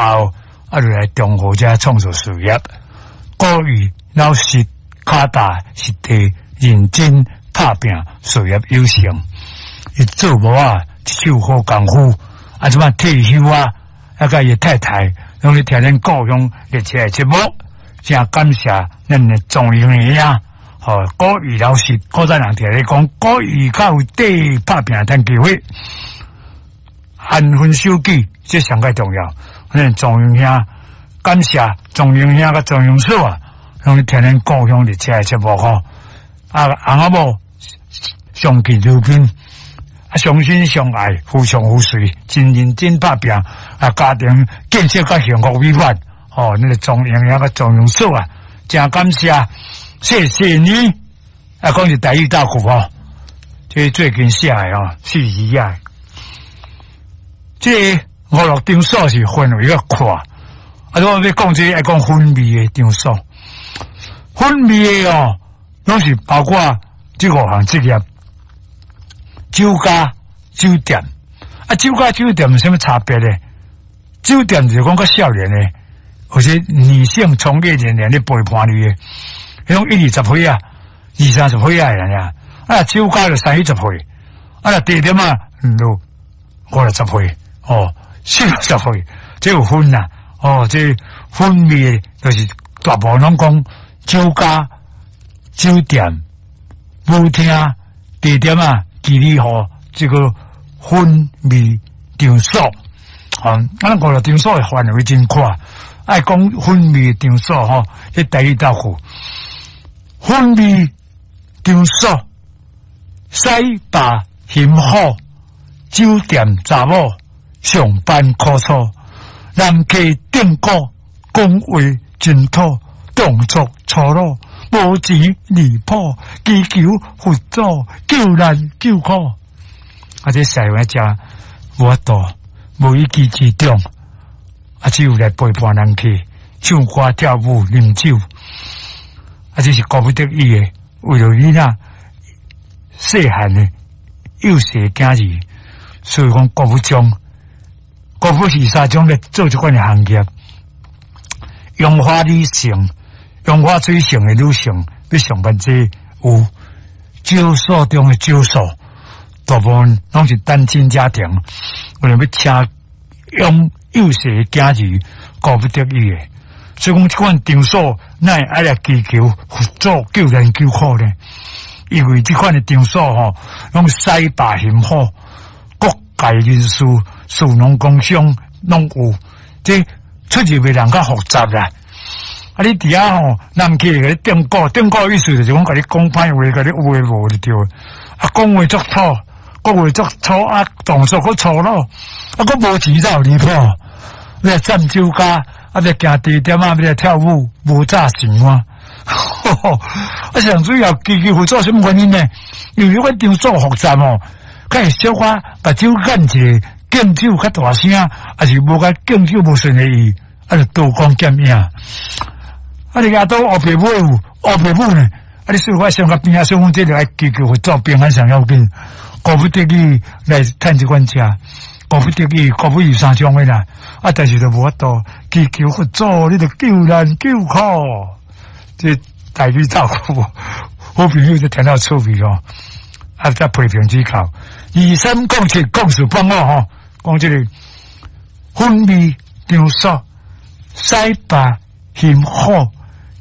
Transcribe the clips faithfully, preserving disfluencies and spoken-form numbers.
後，啊，就來中和遮創造事業。古玉老實跤踏實地，認真拍拚，事業有成。伊做某仔一手好功夫，啊，這擺退休啊，啊，佮伊太太攏咧聽咱故鄉熱車的節目，誠感謝咱的莊榮兄。吼，古玉老師，古早人聽咧講，古玉較有底拍拚趁機會，安分守己，這上蓋重要。咱莊榮兄，感謝莊榮兄佮莊榮嫂啊，攏咧聽咱故鄉熱車的節目吼。啊，翁仔某相敬如賓，啊，相親相愛，互相扶持，真認真拍拚，啊，家庭建設較幸福美滿。吼，那個莊榮兄佮莊榮嫂啊，誠感謝。謝謝你，啊，講是台語大曲吼，這最近寫的吼，四字仔。這娛樂場所是範圍較闊，啊，如果欲講這個愛講氛味的場所，氛味的哦，攏是包括這五項職業：酒家、酒店。啊，酒家、酒店有啥物差別呢？酒店就是講較少年的，或者女性從業人員咧陪伴你的。彼種一二十歲啊，二三十歲啊的人啊，啊酒家就三四十歲，啊若茶店啊，就五六十歲，哦，四六十歲，這有分啦，哦，這氛味就是大部分攏講酒家、酒店、舞廳、茶店啊，妓女號這個氛味場所，啊，咱娛樂場所的範圍真闊，愛講氛味場所吼，這台語豆腐。氛味場所，洗吧辛苦，酒店查某上班苦楚，人客頂鼓講話真土，動作粗魯，無錢離譜，祈求佛祖救難救苦。啊，這寫話誠無法度，無一技之長，啊，只有來陪伴人客唱歌跳舞啉酒。啊，這是顧不得已的，為著囡仔細漢的幼細囝兒，所以講顧不將，顧不是三種咧做這款的行業。楊花女性，楊花水性的女性，欲上班這有少數中的少數，大部分攏是單親家庭，為著欲請養幼細囝兒，顧不得已的。所以講，這款場所，哪會愛來祈求佛祖救難救苦呢？因為這款的場所吼，攏洗吧辛苦，各界人士、士農工商攏有，這出入的人較複雜啦。啊，你佇遐吼，人客共你頂鼓，頂鼓意思就是講，共你講歹話，共你有的無的對。啊，講話足土，講話足粗，啊，動作閣粗魯，啊，閣無錢才有離譜。欲來佔酒家。啊！欲行茶店啊，欲來跳舞，無詐錢啊！啊，上主要祈求佛祖啥物原因呢？因為彼款場所複雜哦，較會小可目睭眼一下，敬酒較大聲，抑是無共敬酒無順的意，啊，就刀光劍影。啊，你阿都烏白母有烏白母呢？啊，你說我上較邊仔，所以講這個愛祈求佛祖平安上要緊，顧不得已來趁這款食。顧不得已，顧不有三種的啦，啊，但是就無法度祈求佛祖，你著救難救苦，這台語照顧好朋友就聽到趣味哦，啊，再批評指教，二三空七空四放五吼，講這個氛味場所，洗吧辛苦，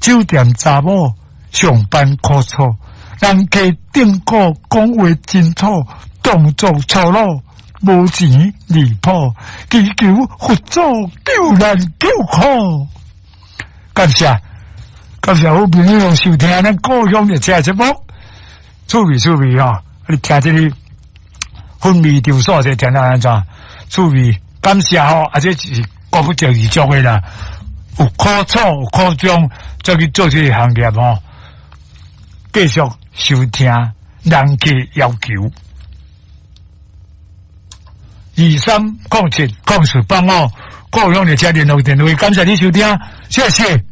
酒店查某上班苦楚，人客頂鼓講話真土，動作粗魯。無錢離譜，祈求佛祖救難救苦。感謝感謝好朋友收聽咱故鄉熱車節目，趣味趣味吼！你聽這個氛味場所，這聽得按怎？趣味感謝吼，啊，這是顧不著而足的啦。有苦楚有苦衷，才去做這個行業吼。繼續收聽人客要求。二三空七空四八五，故鄉熱車聯絡電話，感謝你收聽，謝謝。